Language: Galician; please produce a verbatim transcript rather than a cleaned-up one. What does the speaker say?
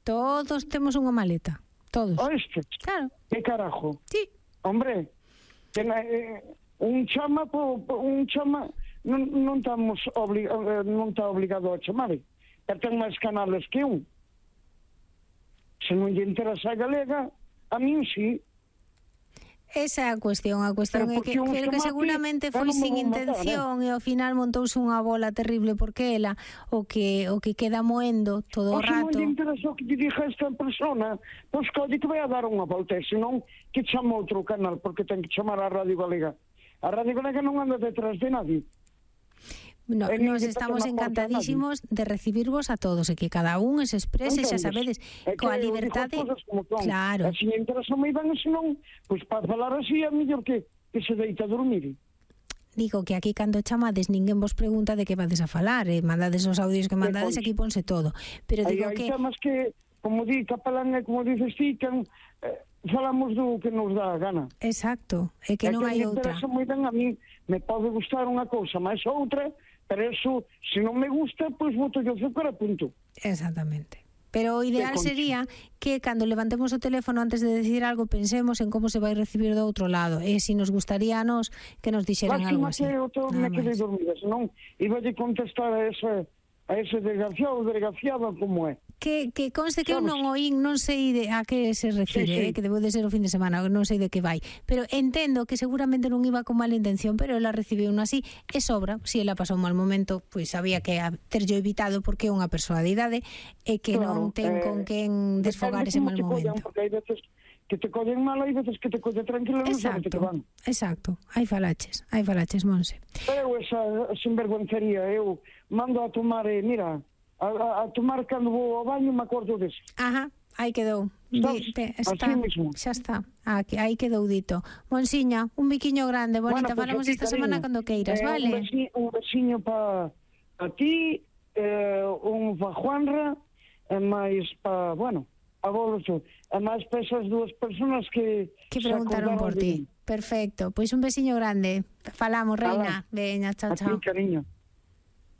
Todos temos unha maleta. Todos. Oeste? Claro. Que carajo? Sí. Hombre, que na, eh, un chama, po, po, un chama, non, non estamos obli, eh, non está obligado a chamar. E ten máis canales que un. Se non lle interesa a galega, a min sí. Esa é a cuestión, a cuestión é que, pero que seguramente foi sin intención e ao final montouse unha bola terrible porque ela o que o que queda moendo todo o rato. Se non lle interesa o que lle diga esta persona, pois colle que vai a dar unha volta, senón que chama outro canal, porque ten que chamar a Radio Galega. A Radio Galega non anda detrás de nadie. No, nos estamos encantadísimos de recibirvos a todos e que cada un se exprese, xa sabedes, coa liberdade. Claro. E se me interesa moi ben, senón, pois para falar así é mellor que, que se deita a dormir. Digo que aquí cando chamades ninguén vos pregunta de que vades a falar, e mandades os audios que mandades, aquí ponse todo. Pero digo que... Hai temas que, como di Capelán e como dices ti, que eh, falamos do que nos dá a gana. Exacto, é que non hai outra. Me interesa moi ben a mí, me pode gustar unha cousa, máis outra, pero eso, se non me gusta, pois boto yo azúcar a punto. Exactamente. Pero o ideal sería que cando levantemos o teléfono antes de decir algo pensemos en como se vai recibir do outro lado e se nos gustaría a nos que nos dixeran algo así. Lástima que eu me quedei dormida, senón iba a contestar a ese, a ese desgraciado, desgraciado como é. Que, que conste que eu non oín, non sei de a que se refire, sí, sí. Eh, que debo de ser o fin de semana, non sei de que vai, pero entendo que seguramente non iba con mala intención, pero ela recibiu un así e sobra, se ela pasou un mal momento, pois había que terllo evitado porque é unha persoa de idade e que claro, non ten eh, con quen desfogar ese mal momento. Collan, porque hai veces que te collen mal, hai veces que te collen tranquilo, non sabes que van. Exacto, hai falaches, hai falaches, Monse. Pero esa sinvergüencería, eu mando a tomar, eh, mira, A, a, a tomar cando vou ao baño me acordo dese. Ajá, aí quedou. Di, te, está, xa está, aquí, aí quedou dito. Monsiña, un biquiño grande, bonita, bueno, falamos pues esta cariño. Semana cando queiras, eh, vale? Un besiño, un besiño pa, pa ti, eh, un pa Juanra, e máis pa, bueno, a vos, e máis pa esas dúas personas que que preguntaron por ti. Perfecto, pois pues un besiño grande. Falamos, reina. Veña, chao, chao. A ti, cariño.